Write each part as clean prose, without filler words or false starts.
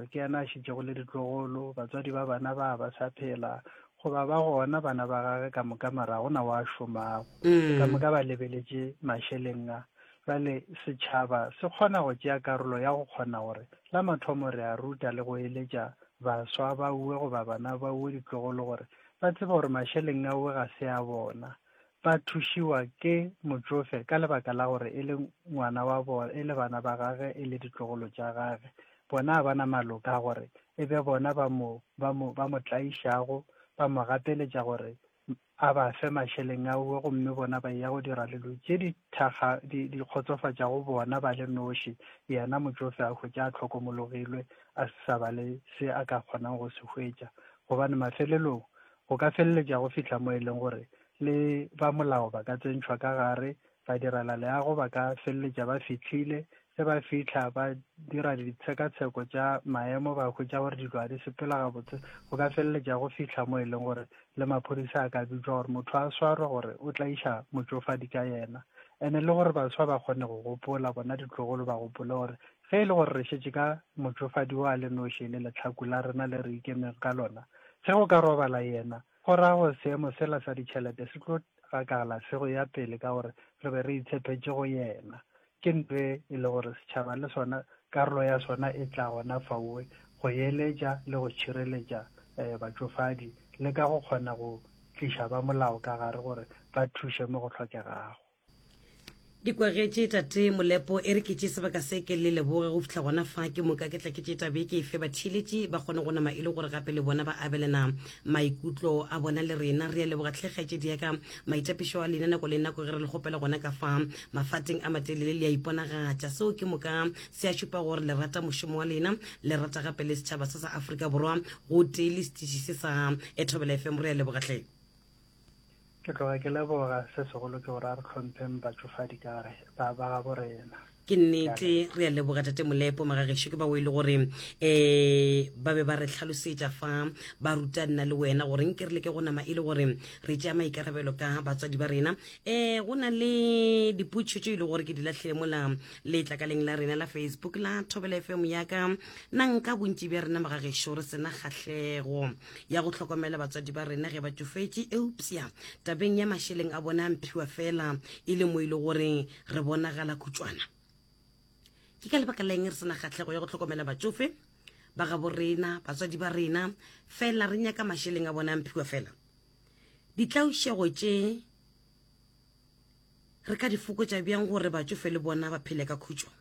mokgalabje ke yena a šetšego le ditlogolo, batswadi ba bana ba ba sa phela, goba ba gona bana ba gage ka moka mara ga gona wa šomago. Ka moka ba lebeletše mašeleng a. Bjale setšhaba se kgona go tšea karolo ya go kgona gore la mathomo re a ruta le go eletša baswa ba uwe goba bana ba uwe ditlogolo gore ba tsebe gore mašeleng a uwe ga se a bona. Ba thušiwa ke motšofe ka lebaka la gore e le ngwana wa bona, e le bana ba gage, e le ditlogolo tša gage. Bona ga ba na maloka a gore e be bona ba mo, ba mo, ba mo tlaišago, ba mo gapeletša gore a ba fe mašeleng a uwe gomme bona ba eya go dira dilo tše di thakga, di, di kgotsofatšago bona ba le noši, yena motšofe a hwetša a hlokomologilwe, a se sa ba le se a ka kgonang go se hwetša. Gobane mafelelong go ka feleletša go fihla mo e leng gore le ba molao ba ka tsentšhwa ka gare, badirelaleago ba ka feleletša ba fihlile, ge ba fihla ba dira ditshekatsheko tša maemo ba hwetša gore dilo ga di sepela gabotse, go ka feleletša go fihla mo e leng gore le maphodisa a ka bitšwa gore motho a swarwe gore o tlaiša motšofadi ka yena. Ene le gore baswa ba kgone go gopola, bona ditlogolo ba gopole gore ge e le gore re šetše ka motšofadi o a le noši e le lehlaku la rena le re ikemego ka lona, ge go ka robala yena, Go ra gore seemo sela sa ditšhelete se tlo gakala se go ya pele ka gore re be re itshepetše go yena. Ke nto e e le gore setšhaba le sona karolo ya sona e tla gona faoe go eletša le go tšhireletša batšofadi le ka go kgona go tliša ba molao ka gare gore ba thuše mo go hlokegago. Di kwagetše tate Molepo e re ke tše sebaka se ke le leboge go fihla gona fa ke moka ke tla ke tše tabe ke efe batheeletši ba kgone go nama e le gore gape le bona ba abelana maikutlo a bona le rena. Re a leboga tlhe kgaetšedi ya ka maitapišo a lena nako le nako ge re le kgopela gona ka fa mafateng a matelele le a iponagatša. Seo ke moka se a šupa gore le rata mošomo wa lena, le rata gape le setšhaba se sa Afrika Borwa gotee le setiši se sa Thobela FM. Re a leboga tlhe. Ke tloga ke leboga, se segolo ke gore a re hlompheng batšofadi ka gare ba ba gabo rena. Ke nnete, re a leboga Tate Molepo, magagešo ke bao e le gore um ba be ba re hlalosetša fa ba ruta nna le wena gore nke re leke go nama e le gore re tšea maikarabelo ka batswadi ba rena. Um go na le dipotšišo tše e le gore ke di lahlile mola letlakaleng la rena la Facebook la Thobela FM ya ka. Na nka bontši bja rena magagešo re sena kgahlego ya go hlokomela batswadi ba rena ge ba tšofetše, eupša tabeng ya mašeleng a bona a mphiwa fela e le mo e le gore re bonagala khutšwana. Ke ka lebaka la eng re se na kgahlego ya go hlokomela batšofe ba gabo rena, batswadi ba rena, fela re nyaka mašeleng a bona a mphiwa fela? Ditlaišego tše re ka di fokotša bjang gore batšofe le bona ba phele ka khutšo?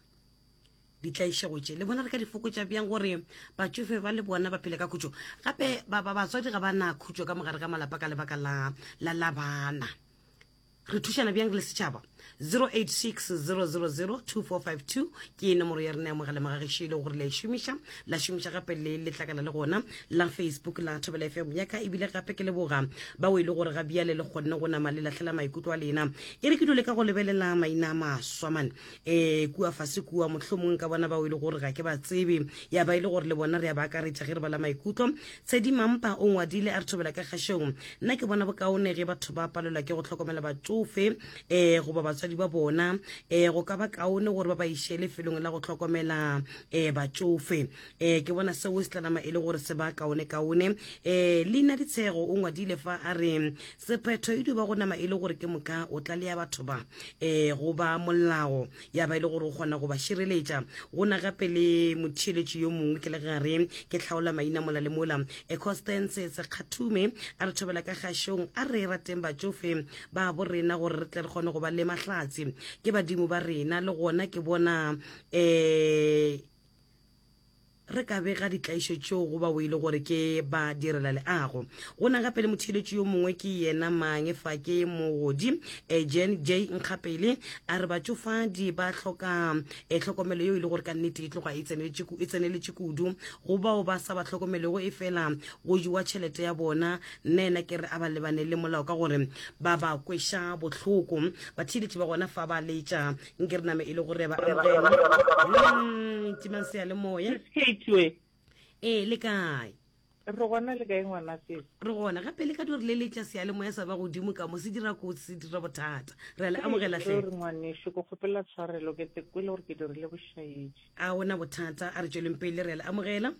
Ditlaišego tše le bona re ka di fokotša bjang gore batšofe ba le bona ba phele ka khutšo? Gape ba, ba, batswadi ga ba na khutšo ka mogare ga malapa ka lebaka la, la, la bana. Re thušana bjang re le setšhaba? 0860002452 ke nomoro ya rena ya mogala magagešu e le gore la e šomiša, la šomiša gape le letlakala le gona la Facebook la Thobela FM ya ka. Ebile gape ke leboga bao e le gore ga bjale le kgonne go nama le lahlela maikutlo a lena. E re ke dule ka go lebelela maina a maswa man. E, kua fase kua, mohlomong ka bona bao e le gore ga ke ba tsebe, ya ba e le gore le bona re a ba akaretša ge re bala maikutlo. Tshedi Mampa o ngwadile a re thobela ka kgašong. Nna ke bona bokaone ge batho ba palelwa ke go hlokomela batšofe e, goba batswadi ba bona, e, go ka ba kaone gore ba ba iše lefelong la go hlokomela e, batšofe. E, ke bona seo se tla nama e le gore se ba kaone-kaone. E, Leina Ditshego o ngwadile fa a re sephetho e dio ba go nama e le gore ke moka o tlalea batho ba e, go ba molao ya ba e le gore o kgona go ba šireletša. Go na gape le motheeletši yo mongwe ke le gare ke hlaola maina mola le mola, e, Constance Sekgathume a re thobela ka kgašong a re rateng batšofe ba bo rena gore re tle re kgone go ba le mahlatse ke badimo ba rena le gona ke bona e, Re ka bega ditlaišo tšeo go bao e le gore ke ba direla leago. Go na gape le motheeletši yo mongwe ke yena mang fa ke mogodi eh, Jen J Nkgapele a re batšofadi ba hloka eh, tlhokomelo yeo e le gore ka nnete e tloga e tseneletše e tseneletše kudu go bao ba sa ba hlokomelego e fela go jewa tšhelete ya bona. Nna yena ke re a ba lebane le molao ka gore ba ba kweša bohloko. Batheeletši ba gona fa ba letša nke re name e le gore ba amogela mm, timang seyalemoya ee le kae re gona le kae ngwana sesi re gona gape le ka dio re leletša seyalemoya sa ba godimo ka mo se dira kotsi se dira bothata re a le amogela hle re ngwaneso ke kgopela tshwarelo ke te kwele gore ke dirile bošaedi a ona bothata a re tšweleng pele re a le amogela.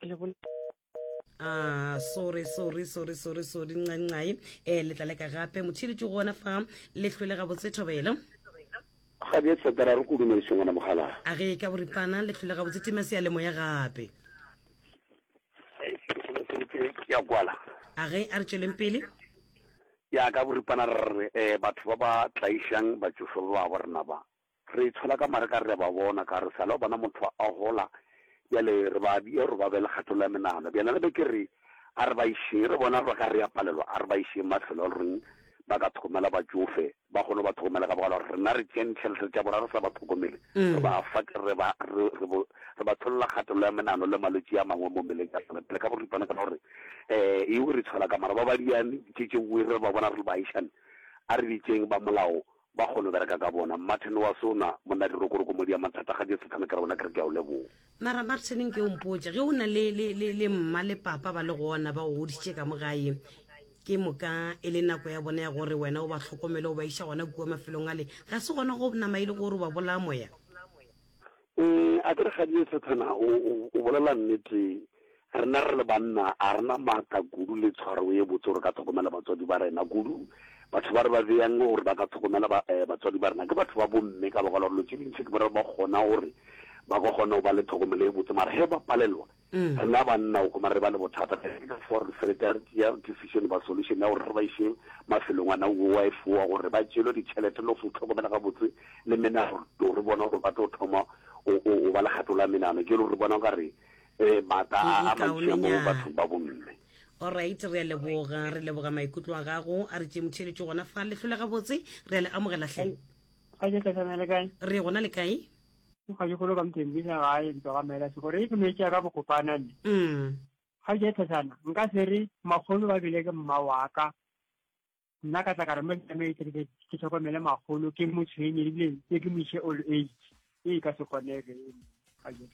Le bol- Ah, sorry sorry sorry sorry sorry ncancai um eh, le tla leka gape motheeletši gona fa le hlwele gabotse thobelo Ga bje Tsetera re ko dumediše ngwana mogala. A ge ka boripana le hlwele gabotse tima seyalemoya gape. Ya kwala. A ge a re tšweleng pele. Ya ka boripana re re eh, batho ba ba tlaišang batšofe ba ba rena ba re itshola ka mare ka re ba bona ka re sala o bona motho a gola bjale re ba bia gore ba be le kgatolo ya menagano bjale re be ke re a re ba išeng re bona re ka re ya palelwa a re ba išeng mafelo a reng ba ka tlhokomela batšofe ba kgone go ba tlhokomela ka bogala gore rena re tšeang ditšhelete tša bona re sa ba tlhokomele mm. re ba fa re ba re ba tsholola kgatelelo ya menano le malwetši a mangwe mo mmeleng ya rena pele ka boripana ka gore um eo re tshola ka mara ba ba diane tše tše nngwe re ba bona re le baagišane a re bitseng ba molao ba kgone go bereka ka bona martin wa sona monna dirokoroko mo dia mathata ga jesu thana ke re bona ke re ke a o leboga mara martin nke o mpotse ge o na le, le, le, le mma le papa ba le gona ba go godisitše ka mo gae ke moka e le nako ya bona ya gore wena o ba hlokomele o ba iša gona kua mafelong ale ga se gona go nama e le gore o ba bolaya moya um a ke re gadie sathana o bolela nnete rena re le banna a rena maatla kudu le tshwaro ye botse gore ka tlhokomela batswadi ba rena kudu batho ba re ba beyang gore ba ka tlhokomela eh, batswadi ba rena ke batho ba bomme ka baka la gore lo tse dintšhi ke bora ba kgona gore ba ka kgona go ba le tlhokomelo e botse mara he ba palelwa mm. rena banna o kgoma re ba le bothata ka fo re feleta re tšea decision ba solution ya gore re ba iše mafelong a na wife wa gore ba tšeelwe ditšhelete le go tlhokomela gabotse le menagano re bona gore ba tlo thoma o ba le kgato la menagano ke le gore re bona ka re um maatla a mantši a mo bathong ba bomme Alright, re a leboga, re leboga maikutlo a gago. A re tšee motheeletši gona fa. Le hlole gabotse, re a le amogela hle. Ga ke tla le kae? Re gona le kae? Ga ke golo ka mthembisa gae ntwa ga mela se gore e ke no tšea ka bokopana nne. Mm. Ga ke tlhasana, nka se re makgolo ba bile ke mma wa ka. Nna ka tla ka re mo ke ke ke tlhokomele makgolo ke mo tshwenye ebile ke ke mo iše old age. E ka se kgonege.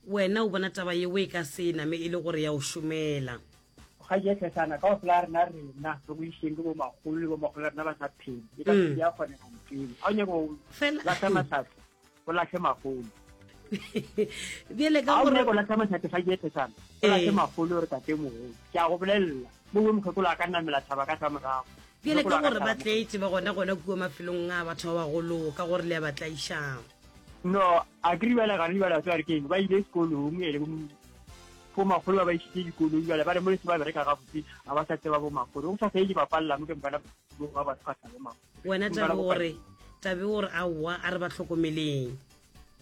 Wena o bona taba yeo e ka se name e le gore ya o šomela. Ga ke tlhasana ka ofela rena rena re go išeng ke bo makgolo le bo makgolo rena ba sa phele. E ka se mm. ya kgonega ntweng. A o nyaka go lahla mahlatse. O lahle magolo. Bjale ka gore o latlha mahlatse ga ke tlhasana. O lahle eh. magolo re tate mogolo. Ke a go bolelela. Mo mokgekolo a ka namela thaba ka sa morago. Bjale ka gore ba tletše ba gona gona kua mafelong a batho ba bagolo ka gore le a ba tlaišang. No, a ke bjale ga re bjale tswa re keng ba ile sekolong e le bo makgolo ba ba isitse dikolong bjale ba re mo le se ba bereka gabotse ga ba sa tseba bo makgolo go sa fele ba palela mo ke mbana ba ba sa bo makgolo wena tabe gore tabe gore aowa a re ba hlokomeleng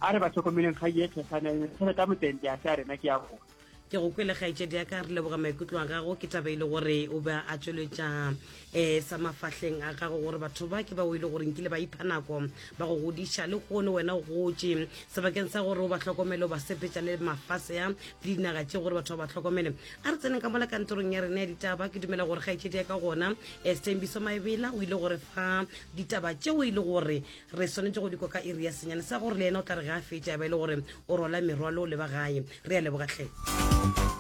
a re ba hlokomeleng ga ye tlhasana tšhelete ya motente ya se a rena ke ya bona ke go kwele kgaetšedi ya ka re leboga maikutlo a gago ke taba e le gore o be a tšweletša um sa mafahleng a gago gore batho ba ke ba o ile gore nkile ba ipha nako ba go godiša le kgone wena o gotše sebakeng sa gore o ba hlokomele o ba sepetša le mafase a le dinaga tše gore batho ba ba hlokomele a re tseneng ka mola kantorong ya rena ya ditaba ke dumela gore kgaetšedi ya ka gona um stembiso maebela o ile gore fa ditaba tšeo e le gore Re swanetše go di kwa ka iri ya senyane sa gore le yena o tla re ge a fetša ya ba e le gore o rwala merwalo o leba gae. Re a leboga hle.